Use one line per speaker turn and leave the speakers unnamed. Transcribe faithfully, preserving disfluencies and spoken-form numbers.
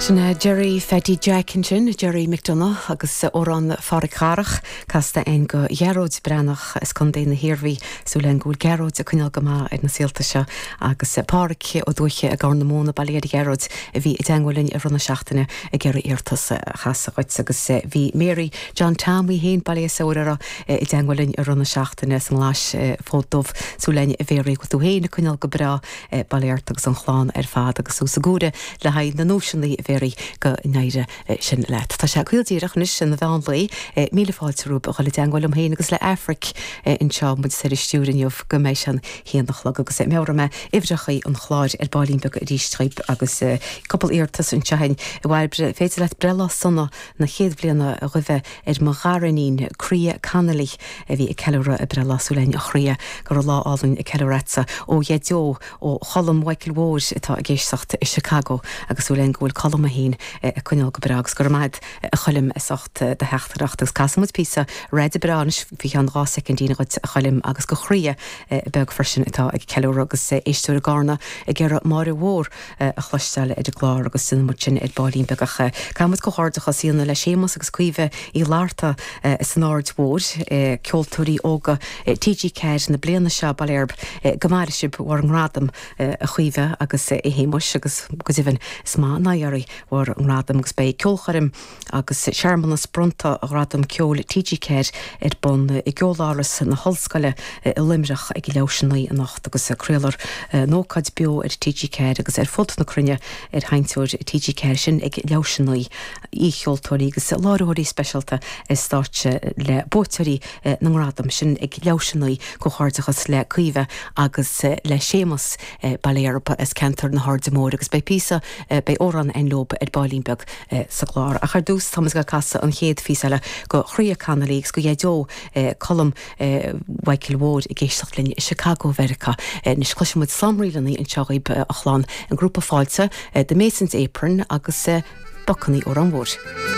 Sin Gerry Pheaidí Jack ansin, Gerry McDonagh agus amhrán Phádraic Dharach casta againn do Ghearóid Breathnach as Contae na hIarmhí súil againn go bhfuil Gearóid ag coinneáil go maith ar na saolta seo agus Pádraic Ó Dúiche i gCorr na Móna Baile Ghearóid a bhí i dteagmháil linn i rith na seachtaine ag iarraidh iarratas a chasadh dhuit agus bhí Mary John Tom í féin Baile Saora i dteagmháil linn i rith na seachtaine san nGlais Fód Dubh súil againn a Mhary go tú féin ag coinneáil go breá bail ort agus an chlann ar fad agus suas i gcúire le haghaidh na nóiseanna Mhary go n-éirí sin leat. Tá sé caol díreach anois chun an mheán lae míle fáilte romhaibh a dhul i dteagmháil liom féin agus le Aifric anseo muid ar an stiúir inniu go mbeidh sé an haon a chlog agus meabhróidh mé uimhreacha an chláir ar baillín beag arís dhaoibh agus cúpla iarratas anseo againn a Bhairbre féidir leat breithlá sona na chéad bhliana a ghuí ar mo ghariníon Croía Connolly a bhí ag ceiliúradh a breithlá súil againn a Chroía go raibh lá álainn ag ceiliúradh ó Dhaideo ó Cholm Mhichael Mhóir atá ag éisteacht i Chicago agus súil againn go bhfuil Colm féin ag coinneáil go breá agus go raibh maith a Choilm as ucht do theachtaireacht agus casfaidh muid píosa raidió breá anois faoi cheann dhá soicindín dhuit a Choilm agus do Chroía beag freisin atá ag ceiliúradh agus éisteoir i gCarna ag iarraidh Máire Mhór a chloisteáil ar an gclár agus déanfaidh muid sin ar baillín beag ach caithfidh muid comhghairdeachas a dhéanamh le Séamus agus Caoimhe Uí Fhlatharta san Aird Mhór ceoltóirí óga TG Ceathair na bliana seo bail oraibh go maire sibh bhur ngradam a Chaoimhe agus a Shéamuis agus go deimhin is maith an aghaidh bhur ngradam agus beidh ceolchoirm agus searmanas bronnta ghradam ceoil TG Ceathair ar bun i gceoláras na hOllscoile i Luimneach ag leathuair tar éis a naoi anocht agus craolfar an ócáid beo ar TG Ceathair agus ar fud na cruinne ar sheinnteoir TG Ceathair sin ag leathuair tar éis a naoi aoicheoltóirí agus láithreoirí speisialta ar stáitse le buaiteoirí na ngradam sin ag leathuair tar éis a naoi comhghairdeachas le Caoimhe agus le Séamus Baile as ceantar na hAirde Mór agus beidh píosa beidh amhrán againn leob ar baillín beag sa gclár. Ach ar dtús táimid ag casadh an chéad phíosa eile do Chroía Connolly agus do Dhaideo Colm Mhichael Mhóir ag éisteacht linn i Chicago Mheiriceá. Anois cloisfidh muid slám ríleanna anseo dhaoibh a chlann an grúpa fáilte The Mason's Apron agus Bacannaí Órán Mhór.